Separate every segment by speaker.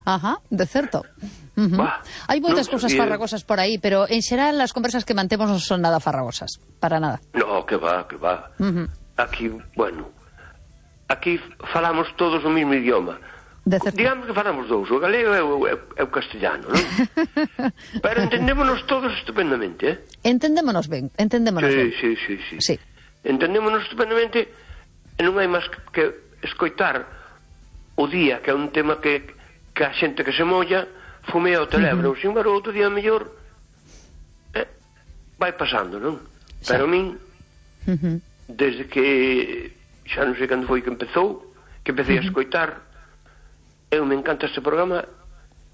Speaker 1: Ajá, de certo. Hai moitas cousas farragosas por aí, pero en xeral as conversas que mantemos non son nada farragosas, para nada.
Speaker 2: No, que va. Aquí, bueno, aquí falamos todos o mesmo idioma. Digamos que falamos dous, o galego e o castellano, non? Pero entendémonos todos estupendamente, eh?
Speaker 1: Entendémonos ben.
Speaker 2: Sí. Entendémonos estupendamente e non hai máis que escoitar o día, que é un tema que a xente que se molla fumea o teléfono, sin embargo, outro día mellor vai pasando, non? Pero a min, desde que xa non sei cando foi que empecé a escoitar, eu me encanta este programa,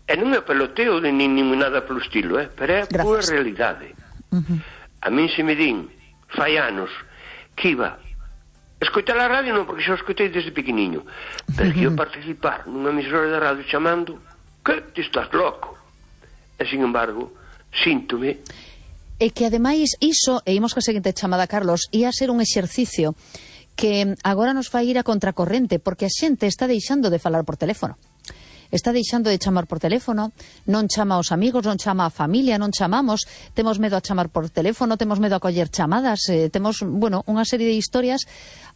Speaker 2: e non é peloteo nin nada polo estilo, pero é a pura realidade. A min se me din fai anos que iba escoitar a radio, non, porque xa o escoitei desde pequeniño, pero que iba participar nunha emisora de radio chamando que te estás loco, e sin embargo síntome.
Speaker 1: E que ademais iso, e imos ca seguinte chamada, Carlos, ia ser un exercicio que agora nos fai ir a contracorrente, porque a xente está deixando de falar por teléfono. Está deixando de chamar por teléfono, non chama aos amigos, non chama a familia, non chamamos, temos medo a chamar por teléfono, temos medo a coller chamadas, temos, bueno, unha serie de historias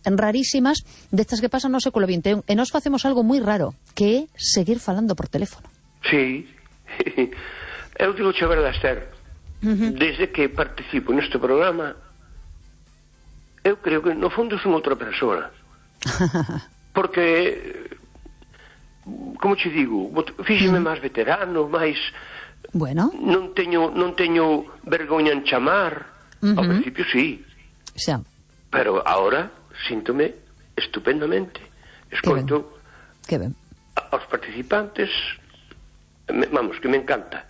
Speaker 1: rarísimas destas que pasan no século XXI, e nos facemos algo moi raro, que é seguir falando por teléfono.
Speaker 2: Sí, eu digo che a verdade, Esther, desde que participo neste programa, eu creo que no fondo son outra persoa. Porque, como che digo, fíxeme máis veterano, máis...
Speaker 1: Bueno.
Speaker 2: Non teño vergoña en chamar. Ao principio sí.
Speaker 1: Xa.
Speaker 2: Pero ahora síntome estupendamente. Escoito aos participantes, vamos, que me encanta.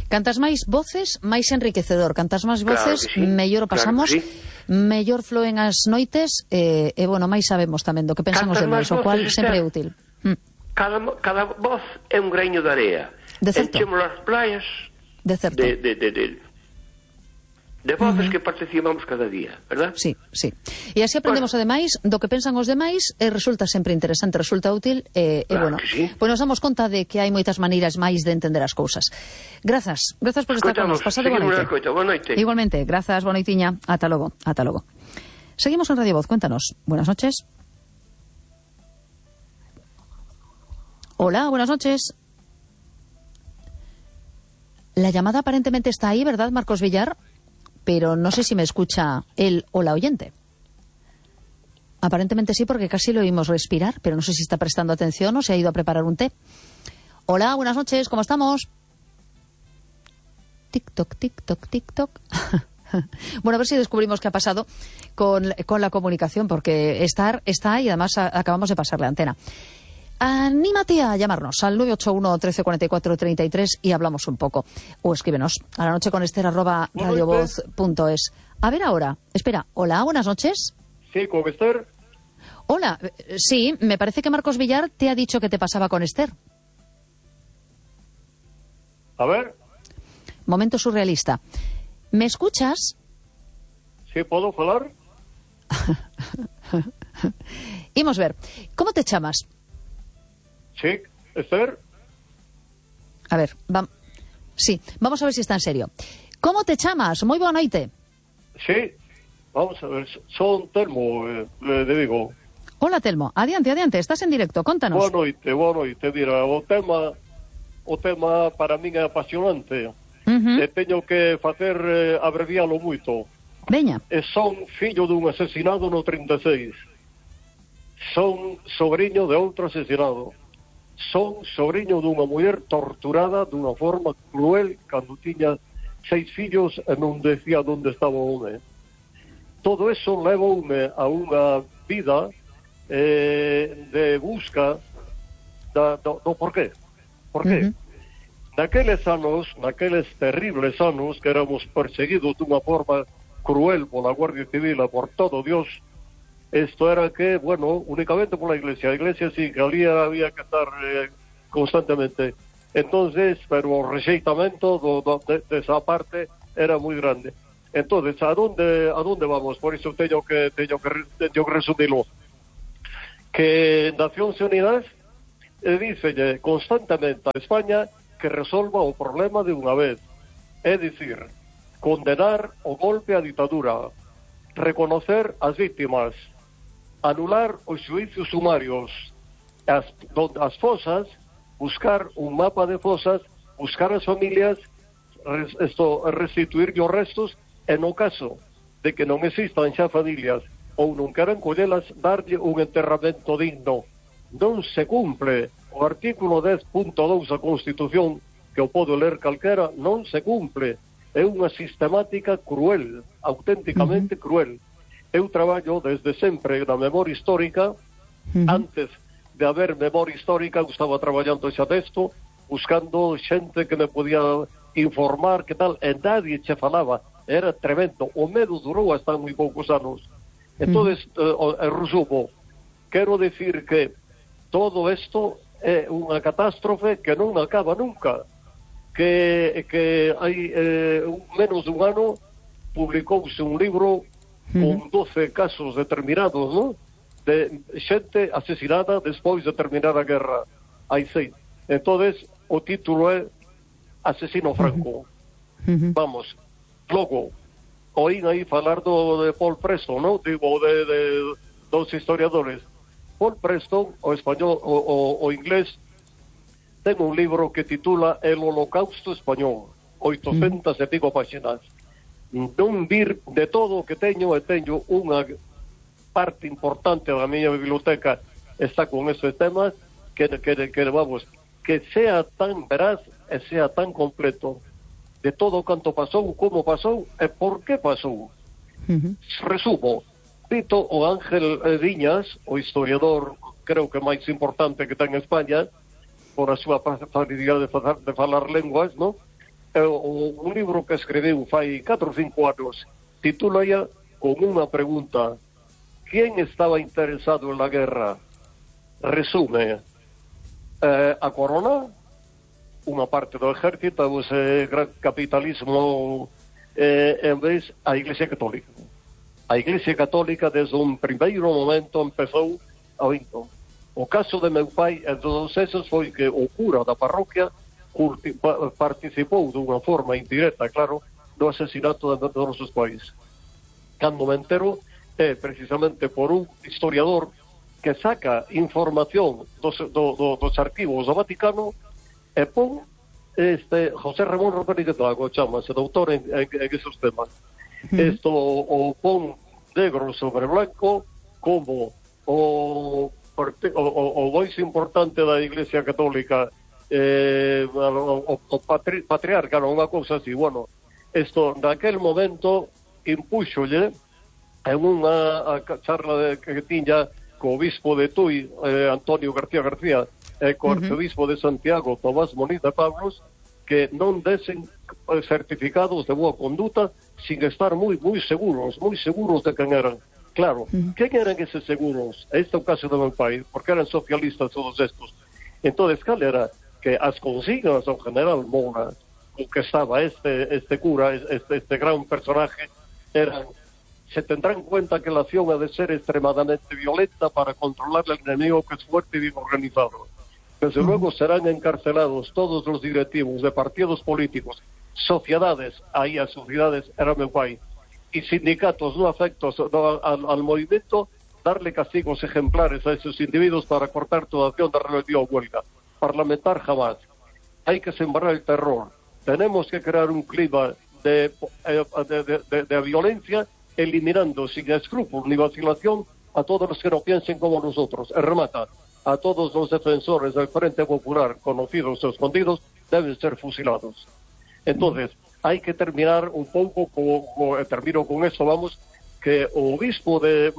Speaker 1: Cantas máis voces, máis enriquecedor. Cantas máis voces, mellor o pasamos, mellor floen as noites, e, bueno, máis sabemos tamén do que pensamos de nós, o cual sempre é útil.
Speaker 2: Cada voz é un greño de area. Enchemos as playas de voces que participamos cada día, verdad?
Speaker 1: Sí. E así aprendemos, ademais, do que pensan os demais, e resulta sempre interesante, resulta útil, e, bueno, pois nos damos conta de que hai moitas maneiras máis de entender as cousas. Grazas por estar con nos. Pasade boa noite. Igualmente, grazas, boa noitiña. Ata logo. Seguimos en Radio Voz, cuéntanos. Buenas noches. Hola, buenas noches. La llamada aparentemente está ahí, ¿verdad, Marcos Villar? Pero no sé si me escucha él o la oyente. Aparentemente sí, porque casi lo oímos respirar, pero no sé si está prestando atención o se ha ido a preparar un té. Hola, buenas noches, ¿cómo estamos? Tic-toc, tic-toc, tic-toc. Bueno, a ver si descubrimos qué ha pasado con la comunicación, porque está y además acabamos de pasar la antena. Anímate a llamarnos al 981 13 44 33 y hablamos un poco. O escríbenos a la noche con ester@radiovoz.es. A ver ahora, espera, hola, buenas noches.
Speaker 3: Sí, con Esther.
Speaker 1: Hola, sí, me parece que Marcos Villar te ha dicho que te pasaba con Esther.
Speaker 3: A ver.
Speaker 1: Momento surrealista. ¿Me escuchas?
Speaker 3: Sí, ¿puedo hablar?
Speaker 1: Imos ver, ¿cómo te chamas?
Speaker 3: Sí, Esther.
Speaker 1: A ver, vamos a ver si está en serio. ¿Cómo te chamas? Moi boa noite.
Speaker 3: Sí, vamos a ver, son Telmo, de Vigo.
Speaker 1: Hola, Telmo, adiante, estás en directo, contanos.
Speaker 3: Boa noite, mira, o tema para min é apasionante. E teño que facer abrevialo moito.
Speaker 1: Veña.
Speaker 3: E son fillo dun asesinado no 36. Son sobrinho de outro asesinado. Son sobrinho dunha muller torturada dunha forma cruel cando tiña 6 fillos e non decía onde estaba o home. Todo eso levoume a unha vida de busca do porqué. Porqué? Naqueles terribles anos que éramos perseguidos dunha forma cruel pola Guardia Civil e por todo Dios, isto era que, bueno, únicamente pola Iglesia. A Iglesia sí, que ali había que estar constantemente. Entonces, pero o rexeitamento desa parte era moi grande. Entonces, a donde vamos? Por iso teño que resumilo. Que Nacións Unidas dícelle constantemente a España que resolva o problema de unha vez. É dicir, condenar o golpe á ditadura, reconocer as víctimas, anular os xuicios sumarios, as fosas, buscar un mapa de fosas, buscar as familias, restituir os restos, e no caso de que non existan xa familias ou non queran collelas, darlle un enterramento digno. Non se cumple o artículo 10.2 da Constitución, que o podo ler calquera, non se cumple. É unha sistemática cruel, auténticamente cruel. Eu traballo desde sempre na memoria histórica. Antes de haber memoria histórica, eu estaba traballando xa texto, buscando xente que me podía informar, que tal, e nadie che falaba. Era tremendo. O medo durou hasta moi poucos anos. Entón, resumo, quero decir que todo isto é unha catástrofe que non acaba nunca. Que hai menos dun ano publicouse un libro con 12 casos determinados, ¿no?, de xente asesinada despois de terminar a guerra. Hai 6. Entonces, o título é Asesino Franco. Vamos, logo, oín aí falar de Paul Preston, ¿no?, digo, de dos historiadores. Paul Preston, o español, o inglés, ten un libro que titula El Holocausto Español, 800 e pico páxinas. Non vir de todo o que teño, e teño unha parte importante da miña biblioteca está con esos temas, que vamos, que sea tan veraz e sea tan completo de todo canto pasou, como pasou e por que pasou. Resumo, cito o Ángel Viñas, o historiador creo que máis importante que ten España, por a súa facilidade de falar lenguas, ¿no? Un libro que escribiu fai 4 ou 5 anos, titula ya con unha pregunta: ¿quién estaba interesado en la guerra? Resume, a corona, unha parte do ejército, ese gran capitalismo, en vez a Iglesia Católica. A Iglesia Católica desde un primeiro momento empezou a vinto. O caso de meu pai e todos esos foi que o cura da parroquia participou dunha forma indirecta, claro, do asesinato de nosos pais. Cando me entero é precisamente por un historiador que saca información dos arquivos do Vaticano e pon José Ramón Rodríguez Lago, chamase, doutor en esos temas. Isto o pon negro sobre blanco como o máis importante da Iglesia Católica, o patriarca, unha cousa así. Bueno, isto naquel momento impúxolle en unha charla que tiña co obispo de Tui, Antonio García, e co arcebispo de Santiago, Tomás Moniz de Pablos, que non desen certificados de boa conduta sin estar moi seguros de quen eran. Claro, quen eran eses seguros? Este é o caso do meu pai, porque eran socialistas todos estos. Entón, cal era? Que as consignas do general Mona, o que estaba este cura, este gran personaje, eran: se tendrá en cuenta que la acción ha de ser extremadamente violenta para controlar al enemigo, que es fuerte y bien organizado. Desde luego serán encarcelados todos los directivos de partidos políticos, sociedades, aí as sociedades era meu pai, y sindicatos no afectos al movimiento, darle castigos ejemplares a esos individuos para cortar toda acción de rebelión o huelga. Parlamentar jamás. Hay que sembrar el terror. Tenemos que crear un clima de violencia, eliminando sin escrúpulos ni vacilación a todos los que no piensen como nosotros. Remata: a todos los defensores del Frente Popular, conocidos o escondidos, deben ser fusilados. Entonces, hay que terminar un pouco termino con esto, vamos, que o obispo de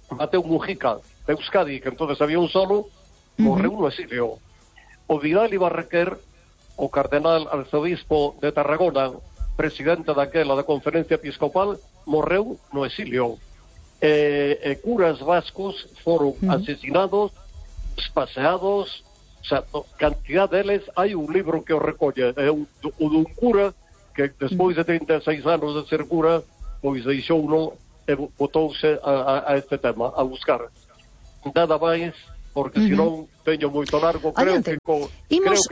Speaker 3: Mateo Mujica de Euskadi, que entonces había un solo, morreu no exilio. O Vidal Ibarrequer, o cardenal arzobispo de Tarragona, presidente daquela da Conferencia Episcopal, morreu no exilio. Curas vascos foron asesinados, espaseados. O sea, cantidad deles. Hai un libro que o recolle, é un cura que despois de 36 anos de ser cura, pois deixou uno e botouse a este tema, a buscar. Nada máis, porque senón teño moito largo. Creo que con
Speaker 1: imos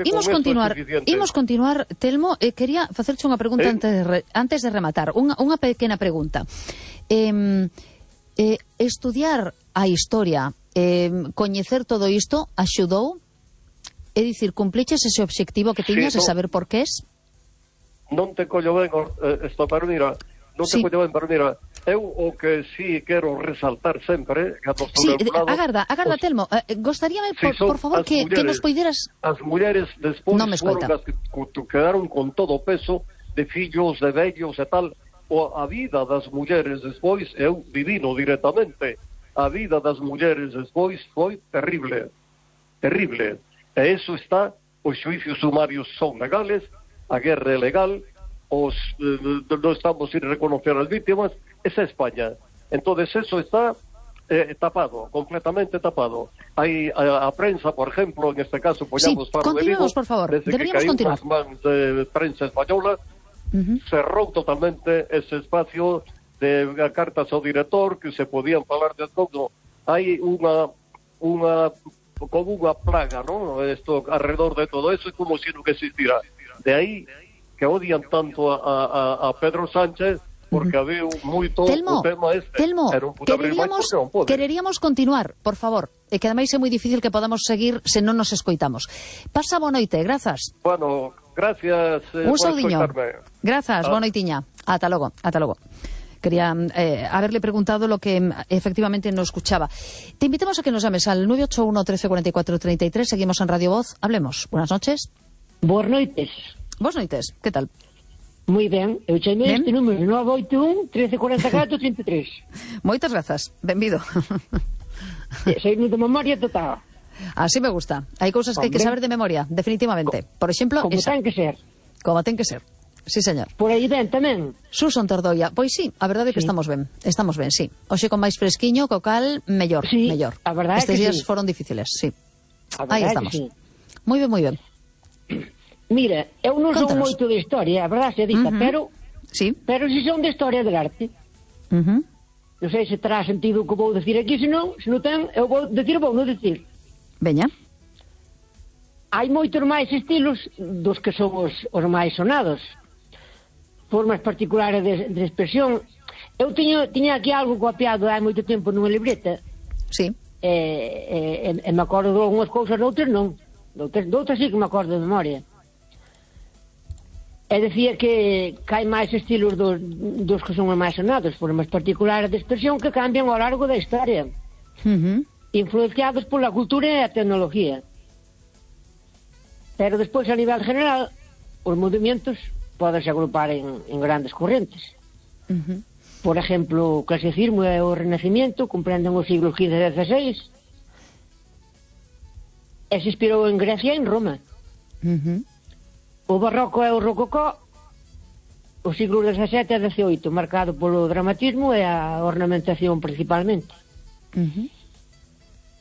Speaker 1: continuar, Telmo. Quería facerche unha pregunta antes de rematar. Unha pequena pregunta. Estudiar a historia, coñecer todo isto, axudou? É dicir, cumpliches ese obxectivo que tiñas de saber por qué es?
Speaker 3: Non te collo ben esta permira. Pero mira, eu o que sí quero resaltar sempre...
Speaker 1: agarda, Telmo, gostaríame, por favor, que nos poideras...
Speaker 3: As mulleres despois foron as que quedaron con todo o peso de fillos, de vellos e tal. A vida das mulleres despois, eu vivino directamente, a vida das mulleres despois foi terrible. E iso está, os xuicios sumarios son legales, a guerra é legal, non estamos sin reconocer as víctimas, esa é España. Entonces eso está tapado, completamente tapado. Hai a prensa, por ejemplo, en este caso, poñamos para o delito,
Speaker 1: por favor,
Speaker 3: deberíamos continuar. Desde que caímos nas mans de prensa española, cerrou totalmente ese espacio de cartas ao director, que se podían falar de todo. Hai como unha plaga, ¿no? Esto alrededor de todo eso, como si non existira. De aí que odian tanto a Pedro Sánchez, porque había moito
Speaker 1: Telmo,
Speaker 3: o tema este.
Speaker 1: Telmo, quereríamos continuar, por favor, e que ademais é moi difícil que podamos seguir se non nos escoitamos. Pasa boa noite, grazas.
Speaker 3: Bueno, gracias
Speaker 1: un saudiño. Grazas, boa noitiña. Ata logo. Quería haberle preguntado lo que efectivamente no escuchaba. Te invitamos a que nos llames al 981 13 44 33. Seguimos en Radio Voz. Hablemos. Buenas noches.
Speaker 4: Boas noites.
Speaker 1: Boas noites. Que tal?
Speaker 4: Moi ben. Eu chamei este número 981 13 44 33.
Speaker 1: Moitas grazas. Benvido.
Speaker 4: Sei de memoria total.
Speaker 1: Así me gusta. Hai cousas que hai que saber de memoria, definitivamente. Por exemplo,
Speaker 4: como ten que ser.
Speaker 1: Como ten que ser. Sí, señor.
Speaker 4: Por aí ben tamén.
Speaker 1: Suson Tordoia. Pois sí, a verdade é que estamos ben, sí. Hoxe con máis fresquiño, co cal, mellor.
Speaker 4: A verdade
Speaker 1: estes días
Speaker 4: sí.
Speaker 1: Foron difíciles, sí. Aí estamos.
Speaker 4: Sí.
Speaker 1: Moi ben.
Speaker 4: Mira, eu non son moito de historia, a verdade se dita, pero
Speaker 1: sí.
Speaker 4: Pero si son de historia del arte. Non sei se terá sentido o que vou decir aquí, se non ten, eu vou non decir.
Speaker 1: Veña.
Speaker 4: Hai moitos máis estilos dos que son os máis sonados. Formas particulares de expresión. Eu tiña aquí algo copiado hai moito tempo nunha libreta.
Speaker 1: Sí.
Speaker 4: E me acordo de algunhas cousas, doutras non. Doutras sí que me acordo de memoria. E decía que hai máis estilos dos que son os máis sonados, formas particulares de expresión que cambian ao largo da historia, influenciados pola cultura e a tecnología. Pero despois, a nivel general, os movimentos podense agrupar en grandes correntes. Por exemplo, o clasicismo e o renacimiento comprenden os siglos XV e XVI, e se inspirou en Grecia e en Roma. O barroco e o rococó, os siglos XVII e XVIII, marcado polo dramatismo e a ornamentación principalmente.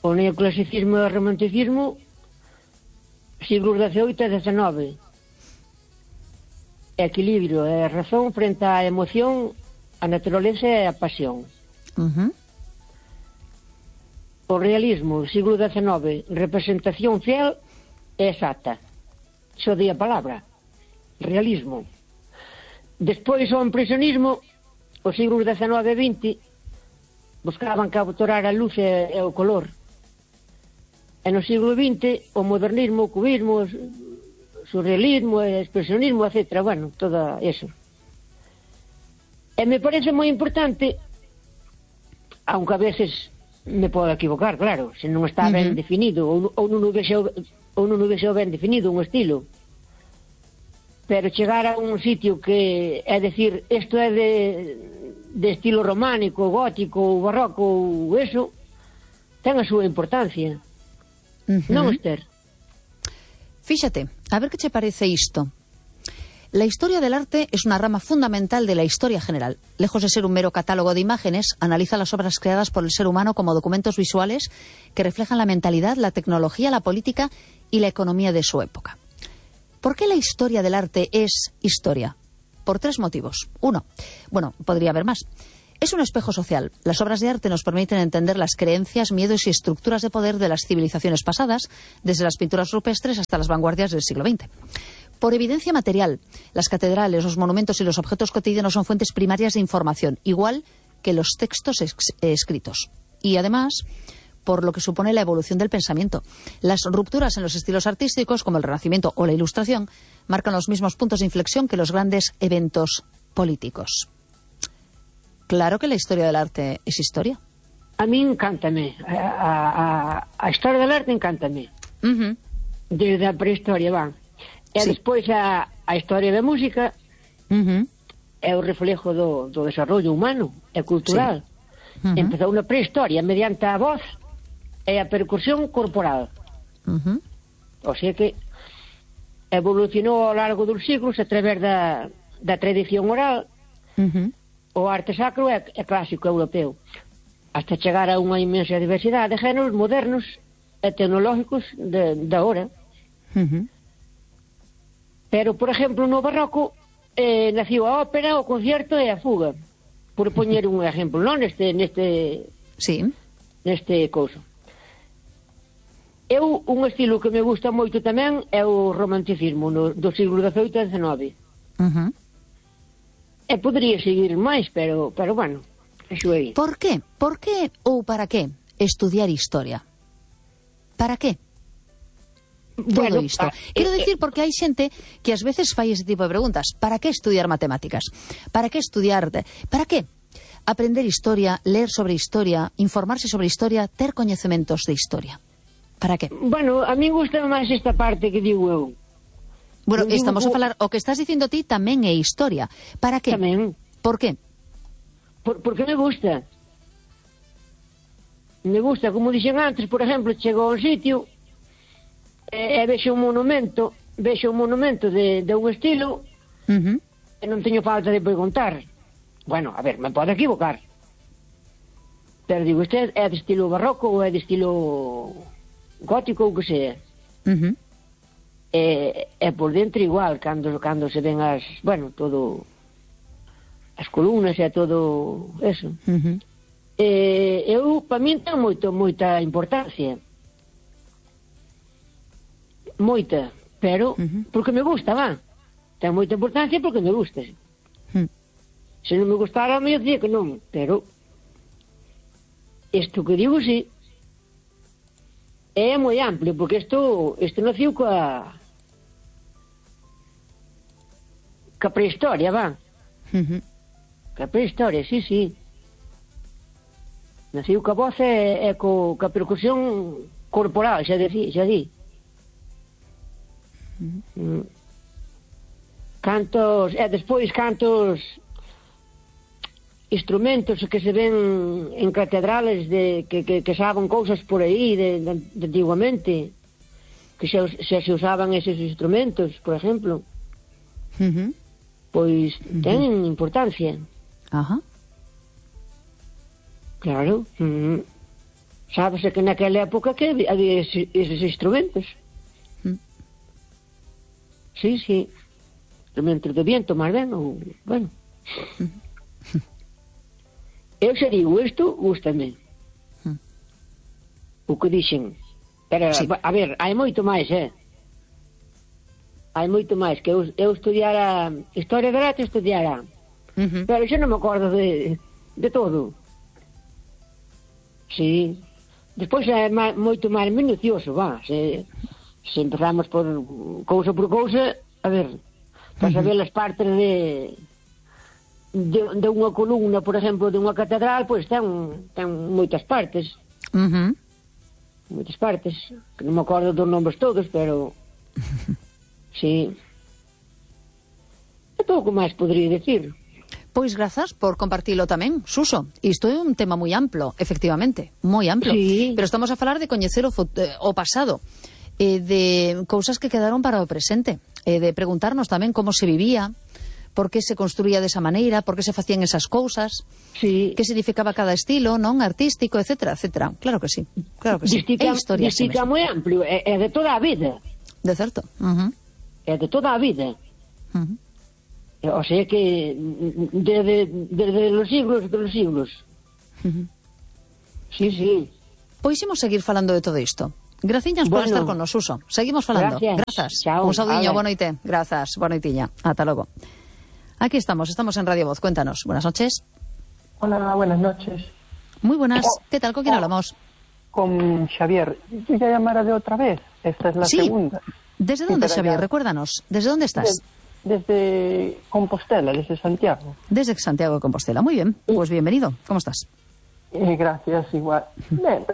Speaker 4: O neoclasicismo e o romanticismo, siglos XVIII e XIX. Equilibrio e razón frente á emoción, a naturaleza e a pasión. O realismo, siglo XIX, representación fiel e exacta. Xo di a palabra, realismo. Despois o impresionismo, os siglos XIX e XX, buscaban capturar a luz e o color. E no siglo XX, o modernismo, o cubismo, o surrealismo, o expresionismo, etc. Bueno, todo eso. E me parece moi importante, aunque a veces me podo equivocar, claro, se non está ben definido, ou non o vexo ben definido un estilo, pero chegar a un sitio que é decir, isto é de estilo románico, gótico, barroco ou eso, ten a súa importancia. Non, Esther?
Speaker 1: Fíxate, a ver que che parece isto. La historia del arte es una rama fundamental de la historia general. Lejos de ser un mero catálogo de imágenes, analiza las obras creadas por el ser humano como documentos visuales que reflejan la mentalidad, la tecnología, la política y la economía de su época. ¿Por qué la historia del arte es historia? Por tres motivos. Uno, bueno, podría haber más. Es un espejo social. Las obras de arte nos permiten entender las creencias, miedos y estructuras de poder de las civilizaciones pasadas, desde las pinturas rupestres hasta las vanguardias del siglo XX. Por evidencia material, las catedrales, los monumentos y los objetos cotidianos son fuentes primarias de información, igual que los textos escritos. Y además, por lo que supone la evolución del pensamiento. Las rupturas en los estilos artísticos, como el Renacimiento o la Ilustración, marcan los mismos puntos de inflexión que los grandes eventos políticos. Claro que la historia del arte es historia.
Speaker 4: A mí encántame. A historia del arte encántame. Desde a prehistoria, van. E despois a historia da música é o reflejo do desarrollo humano e cultural. Empezou na prehistoria mediante a voz e a percusión corporal. O sea que evolucionou ao largo dos siglos a través da tradición oral. O arte sacro é clásico europeo, hasta chegar a unha inmensa diversidade de géneros modernos e tecnológicos da hora. Pero, por exemplo, no barroco naciu a ópera, o concierto e a fuga, por poñer un exemplo, non? Neste couso. Un estilo que me gusta moito tamén é o romanticismo do siglo XVIII e XIX. E podría seguir máis, pero bueno, eso é.
Speaker 1: Por qué? Por qué ou para qué estudiar historia? Para qué? Todo isto. Quero dicir, porque hai xente que ás veces fai ese tipo de preguntas. Para que estudiar matemáticas? Para que estudiar? Para que aprender historia, ler sobre historia, informarse sobre historia, ter coñecementos de historia? Para que?
Speaker 4: Bueno, a mí gusta máis esta parte que digo eu.
Speaker 1: Bueno, estamos a falar, o que estás dicindo ti tamén é historia. Para que?
Speaker 4: Tamén.
Speaker 1: Por que?
Speaker 4: Porque me gusta. Me gusta, como dixen antes, por exemplo, chego a un sitio e vexo un monumento de un estilo e non teño falta de preguntar. Bueno, a ver, me pode equivocar. Pero digo, este é de estilo barroco ou é de estilo gótico ou que sea. E por dentro igual, cando se ven as columnas e todo eso. Eu, para min, ten moita importancia. Moita, pero porque me gusta, va. Ten moita importancia porque me gusta. Se non me gustara, me dicía que non, pero isto que digo, sí, é moi amplio, porque isto naciu coa prehistoria, va. Coa prehistoria, sí. Naciu coa voz e coa percusión corporal, xa di. Despois cantos instrumentos que se ven en catedrales que saben cousas por aí de antiguamente, que xa se usaban eses instrumentos, por exemplo. Pois ten importancia. Claro. Sábese que naquela época que había eses instrumentos. Sí. Instrumentos de viento, máis ben, ou, bueno. Eu se digo isto, gústame. O que dixen. Pero, a ver, hai moito máis, Hai moito máis, que eu estudiara historia del arte, estudiara. Pero xa non me acordo de todo. Sí. Despois é moito máis minucioso, va. Se empezamos por cousa, a ver, para saber as partes de unha columna, por exemplo, de unha catedral, pois ten moitas partes. Moitas partes, que non me acordo dos nombres todos, pero sí. E pouco máis podría decir.
Speaker 1: Pois grazas por compartilo tamén, Suso. Isto é un tema moi amplo, efectivamente, moi amplo.
Speaker 4: Sí.
Speaker 1: Pero estamos a falar de coñecer o pasado, de cousas que quedaron para o presente, de preguntarnos tamén como se vivía, por que se construía desa maneira, por que se facían esas cousas, que significaba cada estilo, non, artístico, etcétera, etcétera. Claro que sí, claro que sí. É historia así mesmo.
Speaker 4: Moi amplio, é de toda a vida.
Speaker 1: De certo.
Speaker 4: É de toda a vida. É O sea que desde los siglos de los siglos. Sí.
Speaker 1: Pois imos seguir falando de todo isto. Graciñas por estar con nos, Suso. Seguimos falando. Grazas.
Speaker 4: Chao.
Speaker 1: Un saudiño, boa noite. Grazas, boa noitiña. Ata logo. Aquí estamos en Radio Voz. Cuéntanos. Buenas noches.
Speaker 5: Hola, buenas noches.
Speaker 1: Muy buenas. ¿Qué tal? ¿Con quién hablamos?
Speaker 5: Con Xavier. Yo ya llamara de otra vez. Esta es la segunda.
Speaker 1: ¿Desde dónde, Xavier? Recuérdanos. ¿Desde dónde estás?
Speaker 5: Desde Compostela, desde Santiago.
Speaker 1: Desde Santiago de Compostela. Muy bien. Pues bienvenido. ¿Cómo estás?
Speaker 5: Gracias, igual. Bien.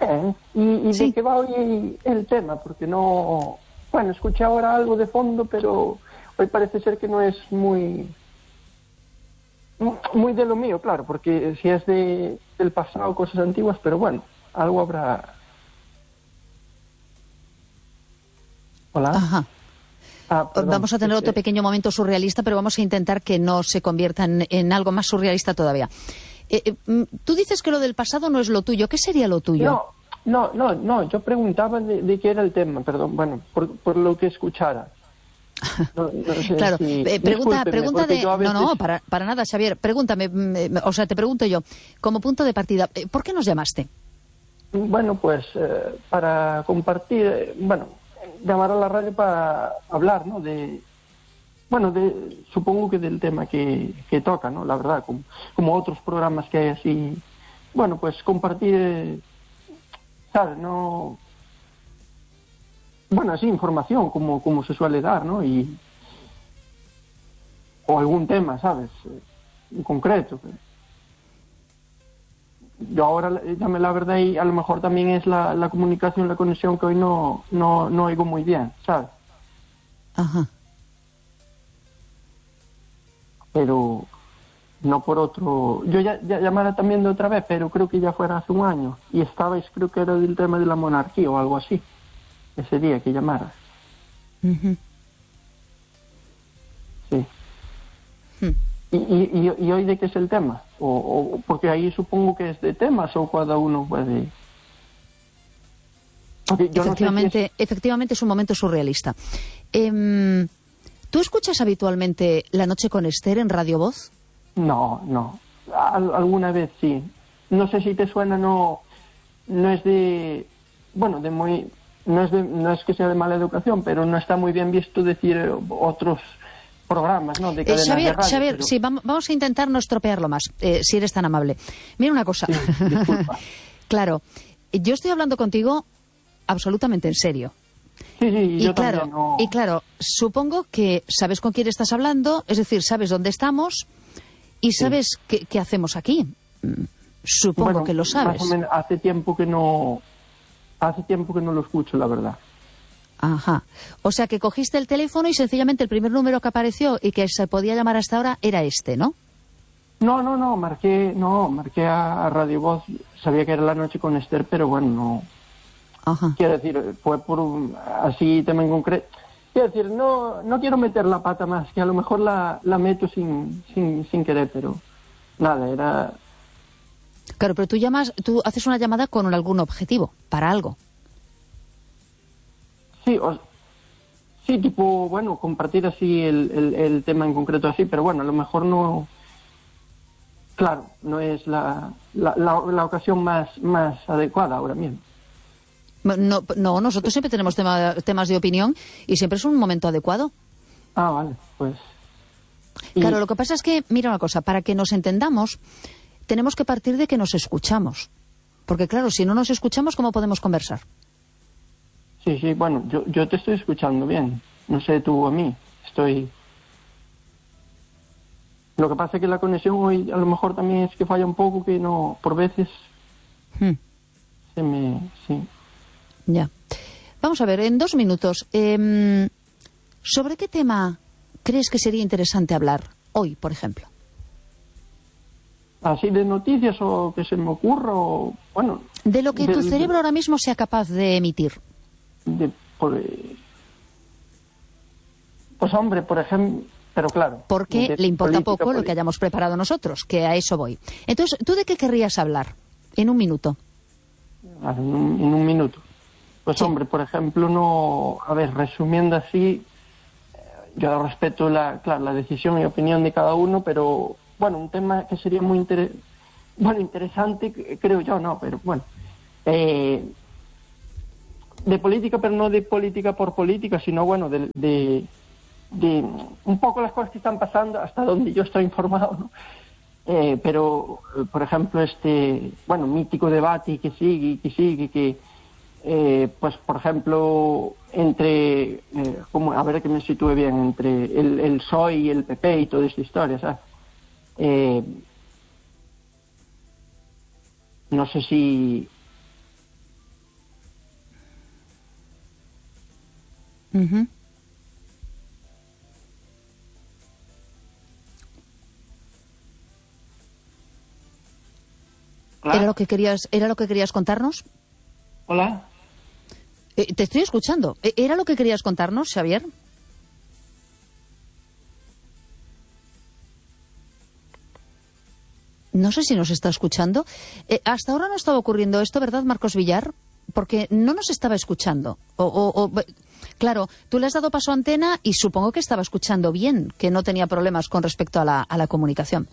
Speaker 5: ¿Y de qué va hoy el tema? Porque no... Bueno, escuché ahora algo de fondo, pero hoy parece ser que no es muy de lo mío, claro, porque si es del pasado, cosas antiguas, pero bueno, algo habrá. Hola.
Speaker 1: Ajá.
Speaker 5: Perdón,
Speaker 1: vamos a tener otro pequeño momento surrealista, pero vamos a intentar que no se convierta en algo más surrealista todavía. Tú dices que lo del pasado no es lo tuyo. ¿Qué sería lo tuyo?
Speaker 5: No. Yo preguntaba de qué era el tema, perdón. Bueno, por lo que escuchara. No sé
Speaker 1: claro, pregunta de...
Speaker 5: veces...
Speaker 1: No, para nada, Xavier. Pregúntame, o sea, te pregunto yo, como punto de partida, ¿por qué nos llamaste?
Speaker 5: Bueno, pues para compartir, llamar a la radio para hablar, ¿no? Supongo que del tema que toca, ¿no? La verdad, como otros programas que hay así, bueno, pues compartir, ¿sabes? No... Bueno, así información, como se suele dar, ¿no? O algún tema, ¿sabes? En concreto. Yo ahora, dame la verdad, y a lo mejor también es la comunicación, la conexión que hoy no oigo muy bien, ¿sabes?
Speaker 1: Ajá.
Speaker 5: Pero no por otro... Yo ya llamara también de otra vez, pero creo que ya fuera hace un año. Y estabais, creo que era del tema de la monarquía o algo así. Ese día que llamara.
Speaker 1: Uh-huh.
Speaker 5: Sí. ¿Y hoy de qué es el tema? O porque ahí supongo que es de temas o cada uno puede...
Speaker 1: Efectivamente es un momento surrealista. ¿Tú escuchas habitualmente La Noche con Esther en Radio Voz?
Speaker 5: No. Alguna vez sí. No sé si te suena, no es de... Bueno, de muy... No es que sea de mala educación, pero no está muy bien visto decir otros programas, ¿no? De cadenas de radio,
Speaker 1: Xavier,
Speaker 5: pero...
Speaker 1: sí, vamos a intentar no estropearlo más, si eres tan amable. Mira una cosa.
Speaker 5: Sí, disculpa.
Speaker 1: Claro, yo estoy hablando contigo absolutamente en serio.
Speaker 5: Sí, yo
Speaker 1: claro,
Speaker 5: también no...
Speaker 1: Y claro, supongo que sabes con quién estás hablando, es decir, sabes dónde estamos y sabes qué hacemos aquí. Supongo que lo sabes.
Speaker 5: Más o menos, hace tiempo que no lo escucho, la verdad.
Speaker 1: Ajá. O sea, que cogiste el teléfono y sencillamente el primer número que apareció y que se podía llamar hasta ahora era este, ¿no?
Speaker 5: No, marqué a Radio Voz, sabía que era La Noche con Esther, pero bueno, no...
Speaker 1: Ajá.
Speaker 5: Quiero decir, fue por así tema en concreto. Quiero decir, no quiero meter la pata más, que a lo mejor la meto sin querer, pero nada, era...
Speaker 1: Claro, pero tú haces una llamada con algún objetivo, para algo.
Speaker 5: Sí, tipo, bueno, compartir así el tema en concreto así, pero bueno, a lo mejor no... Claro, no es la ocasión más adecuada ahora mismo.
Speaker 1: No, nosotros siempre tenemos temas de opinión y siempre es un momento adecuado.
Speaker 5: Ah, vale, pues...
Speaker 1: Claro, lo que pasa es que, mira una cosa, para que nos entendamos, tenemos que partir de que nos escuchamos. Porque claro, si no nos escuchamos, ¿cómo podemos conversar?
Speaker 5: Sí, bueno, yo te estoy escuchando bien. No sé tú a mí, estoy... Lo que pasa es que la conexión hoy a lo mejor también es que falla un poco, que no, por veces sí.
Speaker 1: Ya. Vamos a ver, en 2 minutos, ¿sobre qué tema crees que sería interesante hablar hoy, por ejemplo?
Speaker 5: Así de noticias o que se me ocurra, o bueno...
Speaker 1: De lo que tu cerebro ahora mismo sea capaz de emitir.
Speaker 5: Pues hombre, por ejemplo... Pero claro...
Speaker 1: Porque le importa poco lo que hayamos preparado nosotros, que a eso voy. Entonces, ¿tú de qué querrías hablar? En 1 minuto.
Speaker 5: En un minuto. Pues sí. Hombre, por ejemplo, no... A ver, resumiendo así... yo respeto la decisión y opinión de cada uno, pero bueno, un tema que sería muy interesante, creo yo, no, pero bueno, de política, pero no de política por política, sino bueno, de un poco las cosas que están pasando, hasta donde yo estoy informado, ¿no? Pero, por ejemplo, mítico debate que sigue, pues, por ejemplo, entre, a ver que me sitúe bien, entre el PSOE y el PP y toda esta historia, ¿sabes? No sé si...
Speaker 1: Uh-huh. ¿Era lo que querías contarnos?
Speaker 5: Hola.
Speaker 1: Te estoy escuchando. ¿Era lo que querías contarnos, Xavier? No sé si nos está escuchando. Hasta ahora no estaba ocurriendo esto, ¿verdad, Marcos Villar? Porque no nos estaba escuchando. Claro, tú le has dado paso a antena y supongo que estaba escuchando bien, que no tenía problemas con respecto a la comunicación.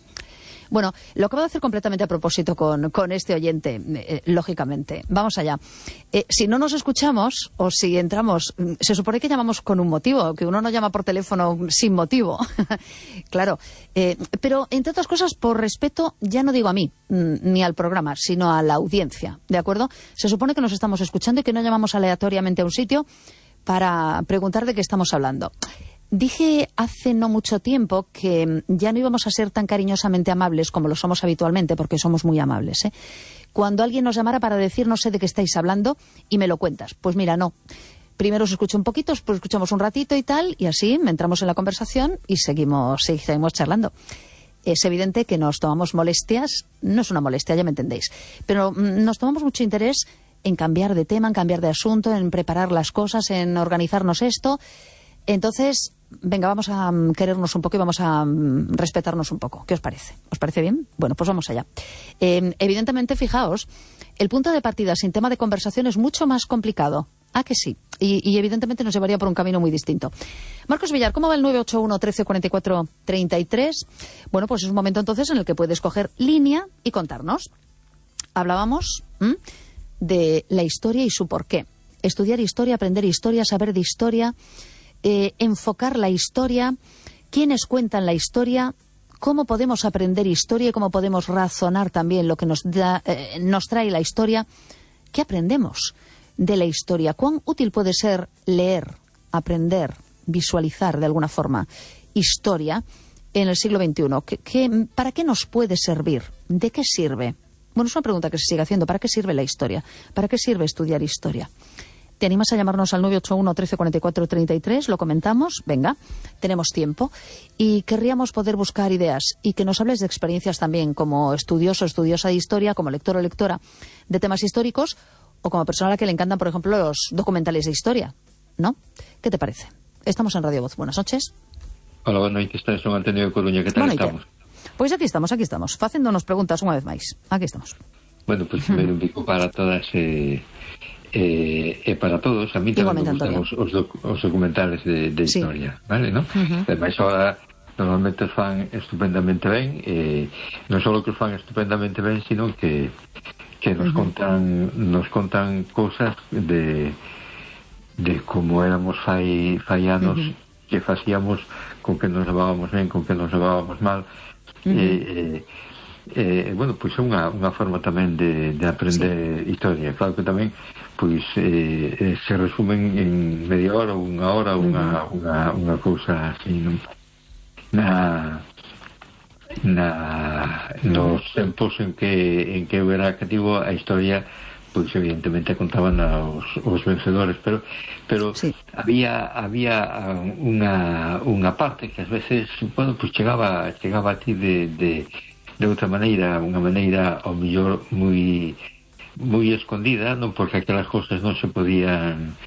Speaker 1: Bueno, lo acabo de hacer completamente a propósito con este oyente, lógicamente. Vamos allá. Si no nos escuchamos o si entramos, se supone que llamamos con un motivo, que uno no llama por teléfono sin motivo. Claro. Pero, entre otras cosas, por respeto, ya no digo a mí ni al programa, sino a la audiencia, ¿de acuerdo? Se supone que nos estamos escuchando y que no llamamos aleatoriamente a un sitio para preguntar de qué estamos hablando. Dije hace no mucho tiempo que ya no íbamos a ser tan cariñosamente amables como lo somos habitualmente, porque somos muy amables, ¿eh? Cuando alguien nos llamara para decir no sé de qué estáis hablando y me lo cuentas. Pues mira, no. Primero os escucho un poquito, después escuchamos un ratito y tal, y así entramos en la conversación y seguimos charlando. Es evidente que nos tomamos molestias, no es una molestia, ya me entendéis, pero nos tomamos mucho interés en cambiar de tema, en cambiar de asunto, en preparar las cosas, en organizarnos esto. Entonces, venga, vamos a querernos un poco y vamos a respetarnos un poco. ¿Qué os parece? ¿Os parece bien? Bueno, pues vamos allá. Evidentemente, fijaos, el punto de partida sin tema de conversación es mucho más complicado. ¿Ah, que sí? Y evidentemente nos llevaría por un camino muy distinto. Marcos Villar, ¿cómo va el 981 13 44 33? Bueno, pues es un momento entonces en el que puedes coger línea y contarnos. Hablábamos de la historia y su porqué. Estudiar historia, aprender historia, saber de historia... enfocar la historia, quiénes cuentan la historia, cómo podemos aprender historia y cómo podemos razonar también lo que nos trae la historia. ¿Qué aprendemos de la historia? ¿Cuán útil puede ser leer, aprender, visualizar de alguna forma historia en el siglo XXI? ¿Para qué nos puede servir? ¿De qué sirve? Bueno, es una pregunta que se sigue haciendo. ¿Para qué sirve la historia? ¿Para qué sirve estudiar historia? ¿Te animas a llamarnos al 981 13 44 33? Lo comentamos. Venga, tenemos tiempo. Y querríamos poder buscar ideas y que nos hables de experiencias también como estudioso, estudiosa de historia, como lector o lectora de temas históricos o como persona a la que le encantan, por ejemplo, los documentales de historia, ¿no? ¿Qué te parece? Estamos en Radio Voz. Buenas noches.
Speaker 6: Hola, buenas noches. Estás en Antonio de Coruña. ¿Qué tal estamos?
Speaker 1: Pois aquí estamos, facéndonos preguntas unha vez máis. Aquí estamos.
Speaker 6: Bueno, pues primeiro un pico para todas para todos. A mí tamén me gustan os documentales de historia, sí. Vale, ¿no? Ademais, ahora normalmente os fan estupendamente ben, non só que os fan estupendamente ben, sino que nos contan cosas de como éramos fai anos, que facíamos, con que nos levábamos ben, con que nos levábamos mal. Bueno, pois é unha forma tamén de aprender historia. Claro que tamén pois se resumen en media hora ou unha hora unha cousa así, non? Nos tempos en que eu era cativo, a historia pois evidentemente contaban os vencedores, pero sí. había unha parte que ás veces, bueno, pois chegaba a ti de outra maneira, unha maneira ao mellor moi escondida, non, porque aquelas cousas non se podían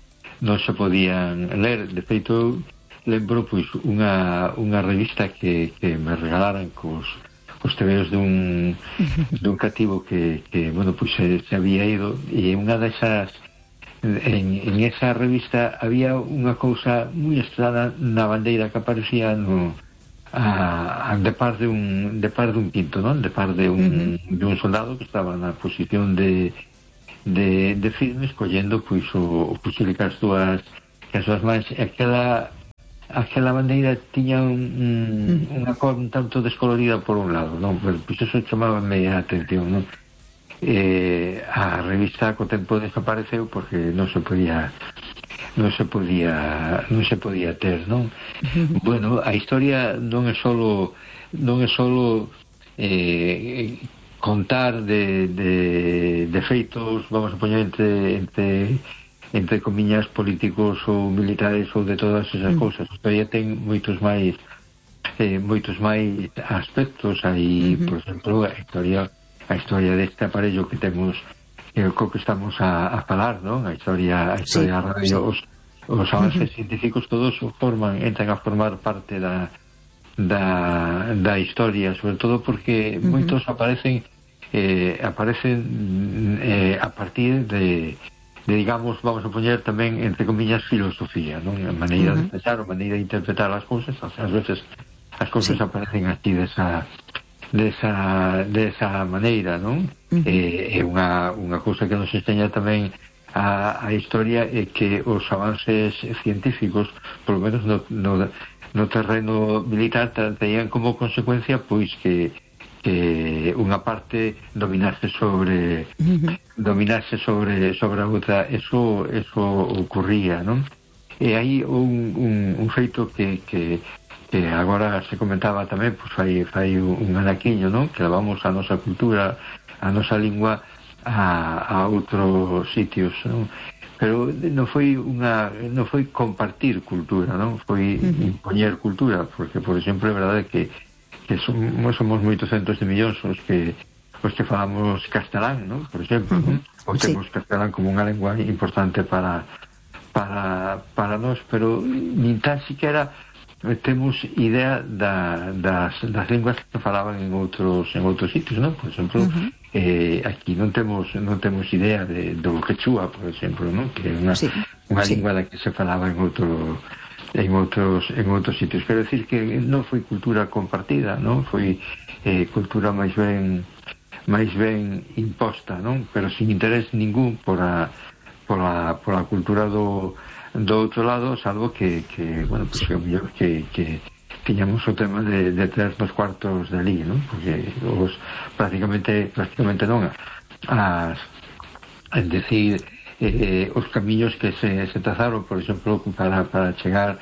Speaker 6: ler. De feito, lembro pois unha revista que me regalaran cos tebeos dun cativo que bueno, pois se había ido, e unha desas en esa revista había unha cousa moi estrana na bandeira que aparecía de par de un quinto, non? De par de un soldado que estaba na posición de firmes, collendo pois o fusil que as súas mans. Aquela bandeira tiña unha cor un tanto descolorida por un lado, non? Pero pois eso chamaba a atención, non? A revista co tempo desapareceu porque non se podía ter, non? Bueno, a historia non é solo contar de feitos, vamos a poñer entre comiñas políticos ou militares ou de todas esas cousas. A historia ten moitos máis aspectos. Aí, por exemplo, a historia deste aparello que temos, co que estamos a falar, non? A historia radio, os avances científicos todos entran a formar parte da historia, sobre todo porque moitos aparecen a partir de digamos, vamos a poñer tamén entre comillas filosofía, non? A maneira de pensar, a maneira de interpretar as cousas. Ás veces as cousas aparecen aquí desa maneira, non? É unha cousa que nos enseña tamén a historia, é que os avances científicos, polo menos no terreno militar, tenían como consecuencia pois que unha parte dominase sobre a outra. Eso ocurría, non? E hai un feito que agora se comentaba tamén, pois fai un anaquiño, non? Que levamos a nosa cultura, a nosa lingua a outros sitios, non? Pero non foi compartir cultura, non? Foi impoñer cultura, porque, por exemplo, é verdade que somos moitos centos de millóns os que falamos castelán, non? Por exemplo, non? Ou temos castelán como unha lingua importante para nós, pero nin tan siquiera temos idea das linguas que falaban en outros sitios, non? Por exemplo, aquí non temos idea do quechua, por exemplo, non? Que é unha lingua da que se falaba en outros sitios. Quero decir que non foi cultura compartida, non? Foi cultura máis ben imposta, non? Pero sin interés ningún pola cultura do outro lado, salvo que bueno, pues é mellor que tiñamos o tema de ter nos cuartos de ali, non? Porque prácticamente non os camiños que se trazaron, por exemplo, para chegar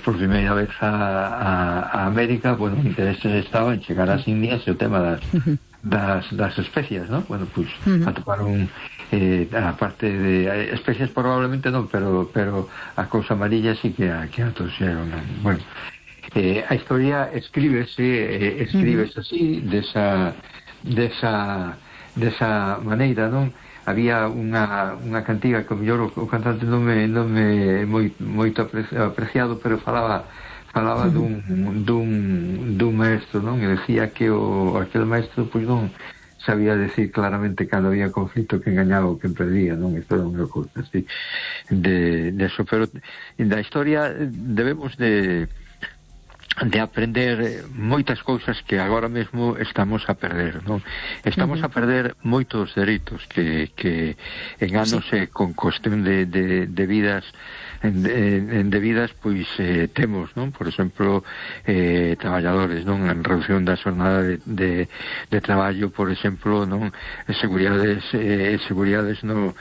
Speaker 6: por primeira vez a América, bueno, o interés estaba en chegar ás Indias, e o tema das especias, non? Bueno, pois atoparon a parte de especias probablemente non, pero a cousa amarilla sí que a trouxeron, non? Bueno, a historia escríbese así, desa maneira, non? Había unha cantiga que mellor o cantante non me moito apreciado, pero falaba dun maestro, non? E decía que aquel maestro pois non sabía decir claramente cando había conflito que engañaba ou que perdía, non? Isto era unha cousa así de eso. Pero da historia debemos de aprender moitas cousas que agora mesmo estamos a perder, non? Estamos a perder moitos dereitos que en anos con cuestión de vidas debidas, pois temos, non? Por exemplo, traballadores, non? En reducción da xornada de traballo, por exemplo, non? Seguridades no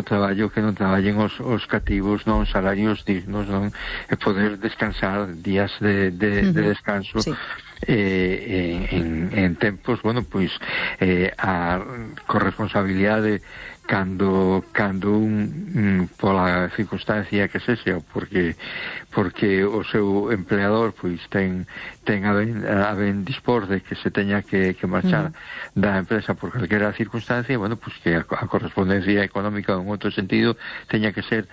Speaker 6: traballo, que non traballen os cativos, non? Salarios dignos, non? E poder descansar, días de descanso en tempos, bueno, pois a corresponsabilidade cando pola circunstancia que sexa, porque o seu empleador pois ten a ben dispor de que se teña que marchar da empresa por calquera circunstancia, bueno, pois que a correspondencia económica en outro sentido teña que ser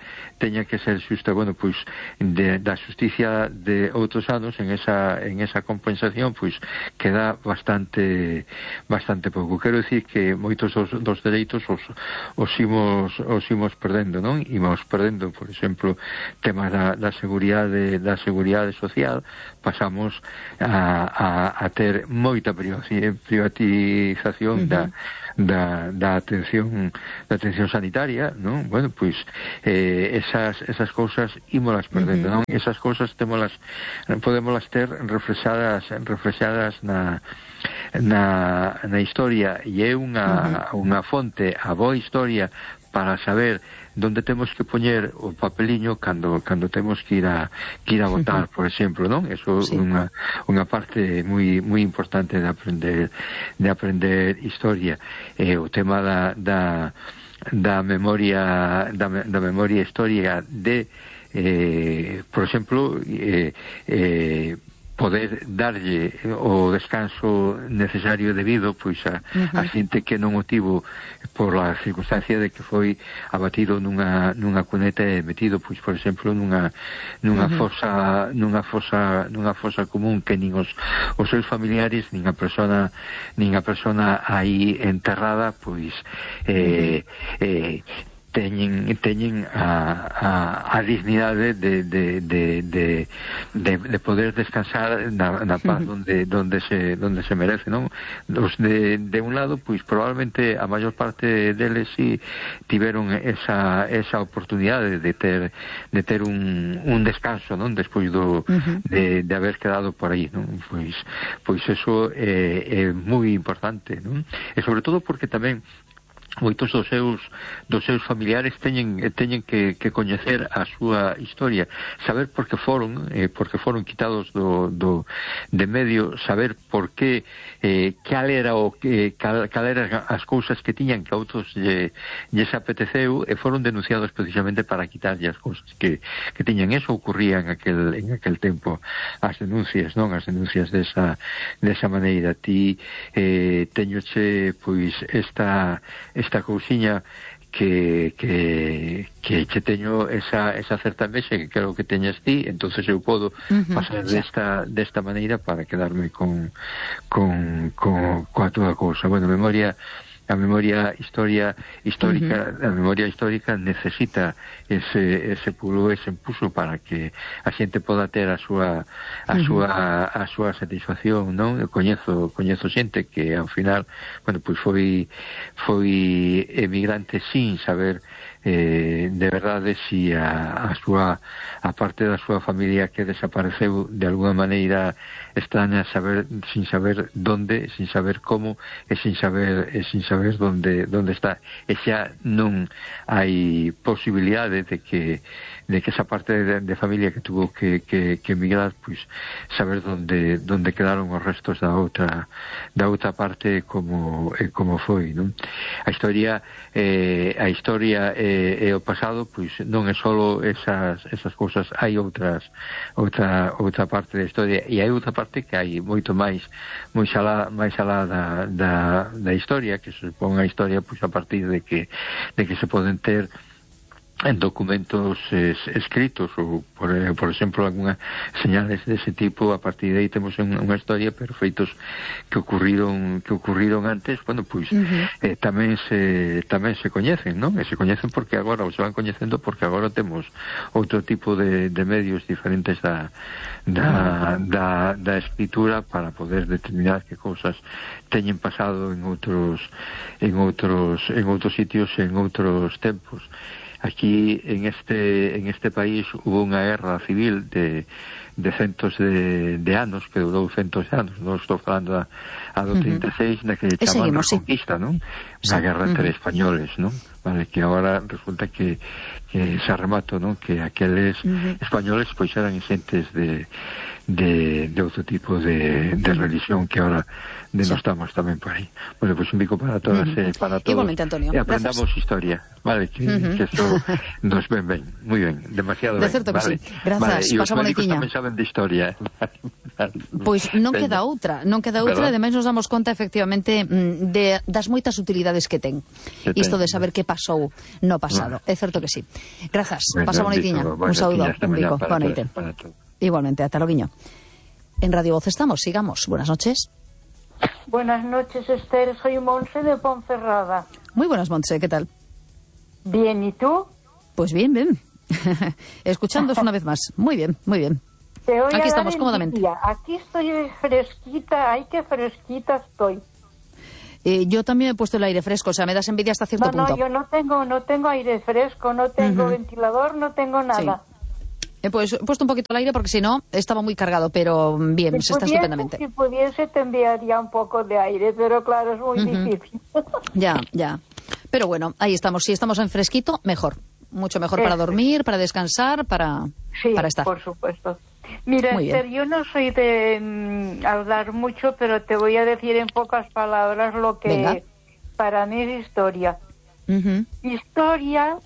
Speaker 6: xusta. Bueno, pois da xusticia de outros anos en esa compensación pois queda bastante pouco. Quero dicir que moitos dos dereitos imos perdendo, non? Imos perdendo, por exemplo, temas da seguridade social, pasamos a ter moita privatización da atención sanitaria, non? Bueno, pois esas cousas ímolas perdendo, non? Esas cousas podémolas ter reflexadas na historia, e é unha fonte, a boa historia, para saber donde temos que poñer o papeliño cando temos que ir a votar, por exemplo, non? Eso é unha parte moi importante de aprender historia. O tema da memoria histórica por exemplo, poder darlle o descanso necesario debido pois a xente que non o tivo por a circunstancia de que foi abatido nunha cuneta e metido, pois, por exemplo, nunha fosa común, que nin os seus familiares nin a persona aí enterrada pois teñen a dignidade de poder descansar na paz donde se merece, non? Os de un lado, pois probablemente a maior parte deles si tiveron esa oportunidade de ter un descanso, non? Despois de haber quedado por aí, non? Pois eso é moi importante, non? E sobre todo porque tamén moitos dos seus familiares teñen que coñecer a súa historia, saber por que foron quitados de medio, saber por que cal eran as cousas que tiñan que a outros lles apeteceu, e foron denunciados precisamente para quitarlle as cousas que tiñan. Eso ocurría en aquel tempo, as denuncias, non? As denuncias desa maneira. Ti teñoche pois esta cousiña que che teño esa certa envexa que creo que teñas ti, entonces eu podo pasar desta maneira para quedarme coa túa cousa. Bueno, a memoria histórica necesita ese pulo, ese impulso para que a xente poda ter a súa satisfacción, non? Eu coñezo xente que ao final, bueno, pois foi emigrante sin saber de verdade si a parte da súa familia que desapareceu de alguna maneira extraña, sin saber donde, sin saber como, e sin saber donde está, e xa non hai posibilidade de que esa parte de familia que tuvo que emigrar, pois saber donde quedaron os restos da outra parte como foi, non? A historia e o pasado, pois non é só esas cousas, hai outra parte da historia, e hai outra parte que hai moito máis alá da historia, que se supón a historia pois a partir de que se poden ter en documentos escritos, ou por exemplo algunha señales dese tipo. A partir de aí temos unha historia, pero feitos que ocurriron antes, bueno, pois tamén se coñecen, non? E se coñecen porque agora, ou se van coñecendo porque agora temos outro tipo de medios diferentes da escritura para poder determinar que cousas teñen pasado en outros sitios e en outros tempos. Aquí en este país hubo unha guerra civil de centos de anos, que durou centos de anos. Non estou falando a do 36, na que chaman Reconquista, non? Unha guerra entre españoles, non? Vale, que agora resulta que se arremato, non? Que aqueles españoles pois eran xentes de outro tipo de religión que ahora denostamos tamén por aí. Bueno, pues un bico para todas e para todos.
Speaker 1: Igualmente, Antonio.
Speaker 6: E aprendamos historia, vale, que eso nos ven ben, moi ben, demasiado ben.
Speaker 1: De certo que
Speaker 6: vale.
Speaker 1: sí. Grazas,
Speaker 6: vale.
Speaker 1: pasa bonitiña.
Speaker 6: E os médicos tamén saben de historia.
Speaker 1: Pois non queda outra, ademais nos damos conta efectivamente das moitas utilidades que ten isto de saber que pasou no pasado. É certo que sí. Grazas, pasa bonitiña. Un saúdo, un bico. Boa noite. Igualmente, ata loguiño. En Radio Voz estamos, sigamos. Buenas noches.
Speaker 7: Buenas noches, Esther. Soy Monse de Ponferrada.
Speaker 1: Muy buenas, Monse, ¿qué tal?
Speaker 7: Bien, ¿y tú?
Speaker 1: Pues bien, bien. Escuchándos una vez más. Muy bien, muy bien. Aquí estamos cómodamente.
Speaker 7: Aquí estoy fresquita, ay, qué fresquita estoy.
Speaker 1: Yo también he puesto el aire fresco, o sea, me das envidia hasta cierto punto.
Speaker 7: No, yo no tengo aire fresco, no tengo ventilador, no tengo nada.
Speaker 1: Sí. He puesto un poquito el aire porque si no estaba muy cargado, pero bien, se está estupendamente.
Speaker 7: Si pudiese te enviaría un poco de aire, pero claro, es muy difícil.
Speaker 1: Ya. Pero bueno, ahí estamos. Si estamos en fresquito, mejor. Mucho mejor para dormir, para descansar, para estar.
Speaker 7: Por supuesto. Mira, Esther, yo no soy de hablar mucho, pero te voy a decir en pocas palabras lo que para mí es historia. Historia,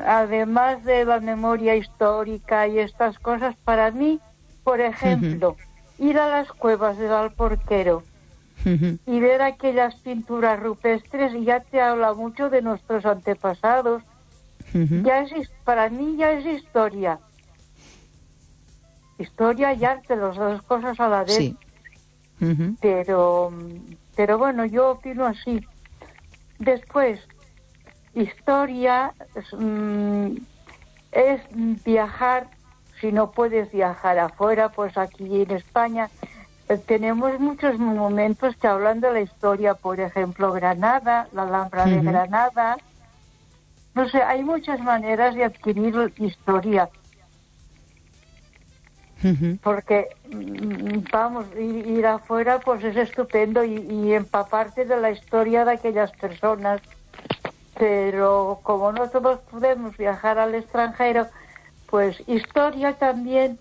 Speaker 7: además de la memoria histórica y estas cosas, para mí, por ejemplo, ir a las cuevas del Alporquero y ver aquellas pinturas rupestres ya te habla mucho de nuestros antepasados. Para mí ya es historia. Historia y arte, las dos cosas a la vez.
Speaker 1: Sí.
Speaker 7: Pero bueno, yo opino así. Después, historia es viajar. Si no puedes viajar afuera, pues aquí en España tenemos muchos monumentos que hablan de la historia. Por ejemplo, Granada, la Alhambra de Granada. No sé, hay muchas maneras de adquirir historia. Porque, vamos, ir afuera pues es estupendo y empaparte de la historia de aquellas personas. Pero como no todos podemos viajar al extranjero, pues historia también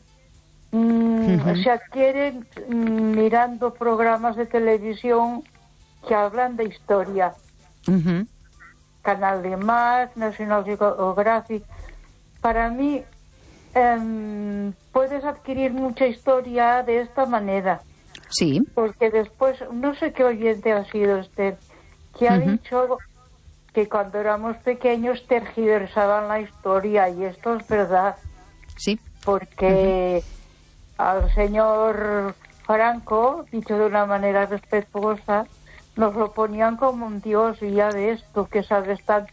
Speaker 7: se adquiere mirando programas de televisión que hablan de historia. Canal de Mar, National Geographic. Para mí puedes adquirir mucha historia de esta manera.
Speaker 1: Sí.
Speaker 7: Porque después, no sé qué oyente ha sido Esther, que ha dicho que cuando éramos pequeños tergiversaban la historia, y esto es verdad.
Speaker 1: Sí.
Speaker 7: Porque al señor Franco, dicho de una manera respetuosa, nos lo ponían como un dios, y ya ves tú que sabes tanto